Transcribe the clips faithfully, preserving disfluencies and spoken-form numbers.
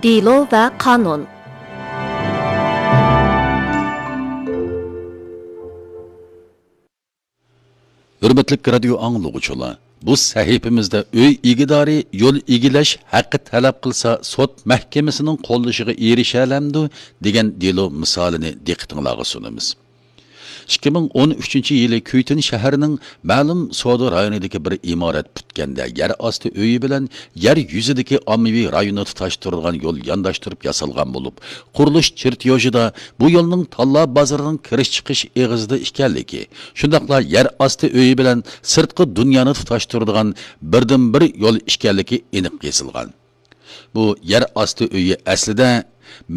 دېلو ۋە قانۇن. ھۆرمەتلىك رادىيو ئاڭلىغۇچىلار، بۇ سەھىپىمىزدە ئۆي ئىگىدارى يول ئىگىلەش ھەققى تەلەپ قىلسا، سوت مەھكىمىسىنىڭ قوللىشىغا ئېرىشەلەمدۇ دېگەن دېلو مىسالىنى دىققىتىڭلارغا سۇنىمىز. ئىككى مىڭ ئون ئۈچىنچى يىلى كۈيتۈن شەھىرىنىڭ مەلۇم سودا رايونىدىكى بىر ئىمارەت پۈتكەندە يەر ئاستى ئۆيى بىلەن يەر يۈزىدىكى ئاممىۋى رايوننى تۇتاشتۇرىدىغان يول يانداشتۇرۇپ ياسالغان بولۇپ، قۇرۇلۇش چېرتيوژىدا بۇ يولنىڭ تاللا بازىرىنىڭ كىرىش چىقىش ئېغىزىدا ئىكەنلىكى، شۇنداقلا يەر ئاستى ئۆيى بىلەن سىرتقى دۇنيانى تۇتاشتۇرىدىغان بىردىنبىر يول ئىكەنلىكى ئېنىق يېزىلغان. بۇ يەر ئاستى ئۆيى ئەسلىدە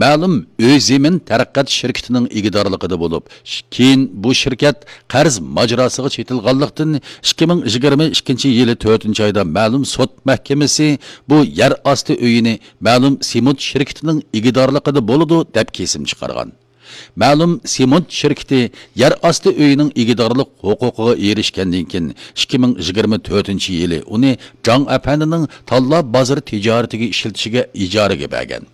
مەلۇم ئۆي زېمىن تەرەققىيات شىركىتىنىڭ ئىگىدارلىقىدا بولۇپ، كېيىن بۇ شىركەت قەرز ماجىراسىغا چېتىلغانلىقتىن، ئىككى مىڭ يىگىرمە ئىككىنچى يىلى تۆتىنچى ئايدا مەلۇم سوت مەھكىمىسى بۇ يەر ئاستى ئۆيىنى مەلۇم سېمونت شىركىتىنىڭ ئىگىدارلىقىدا بولىدۇ، دەپ كېسىم چىقارغان. مەلۇم سېمونت شىركىتى يەر ئاستى ئۆيىنىڭ ئىگىدارلىق ھوقۇقىغا ئېرىشكەندىن كېيىن، ئىككى مىڭ يىگىرمە تۆتىنچى يىلى ئۇنى جاڭ ئەپەندىنىڭ تاللا بازىرى تىجارىتىگە ئىشلىتىشىگە ئىجارىگە بەرگەن.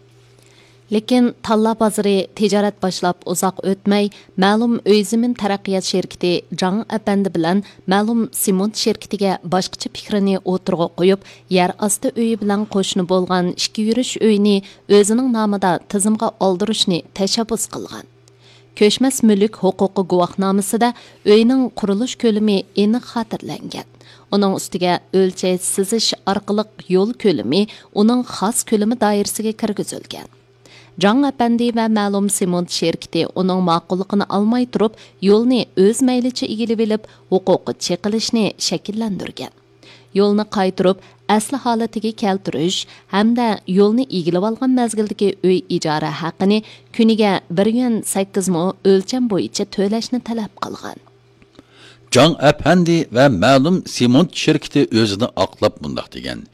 لېكىن تاللا بازىرى تىجارەت باشلاپ ئۇزاق ئۆتمەي، مەلۇم ئۆي زېمىن تەرەققىيات شىركىتى جاڭ ئەپەندى بىلەن مەلۇم سېمونت شىركىتىگە باشقىچە پىكرىنى ئوتتۇرىغا قويۇپ، يەر ئاستى ئۆيى بىلەن قوشنا بولغان ئىككى يۈرۈش ئۆينى ئۆزىنىڭ نامىدا تىزىمغا ئالدۇرۇشنى تەشەببۇس قىلغان. كۆچمەس مۈلۈك ھوقۇقى گۇۋاھنامىسىدە ئۆينىڭ قۇرۇلۇش كۆلىمى ئېنىق خاتىرىلەنگەن. ئۇنىڭ ئۈستىگە ئۆلچەش سىزىش ئارقىلىق يول كۆلىمى ئۇنىڭ خاس كۆلىمى دائىرىسىگە كىرگۈزۈلگەن. جاڭ ئەپەندى ۋە مەلۇم سېمونت شىركىتى ئۇنىڭ ماقۇللۇقىنى ئالماي تۇرۇپ، يولنى ئۆز مەيلىچە ئىگىلىۋېلىپ، ھوقۇققا چېقىلىشنى شەكىللەندۈرگەن. يولنى قايتۇرۇپ ئەسلى ھالىتىگە كەلتۈرۈش ھەمدە يولنى ئىگىلىۋالغان مەزگىلدىكى ئۆي ئىجارە ھەققىنى كۈنىگە بىر يۈەن سەككىز مو ئۆلچەم بويىچە تۆلەشنى تەلەپ قىلغان. جاڭ ئەپەندى ۋە مەلۇم سېمونت شىركىتى ئۆزىنى ئاقلاپ مۇنداق دېگەن: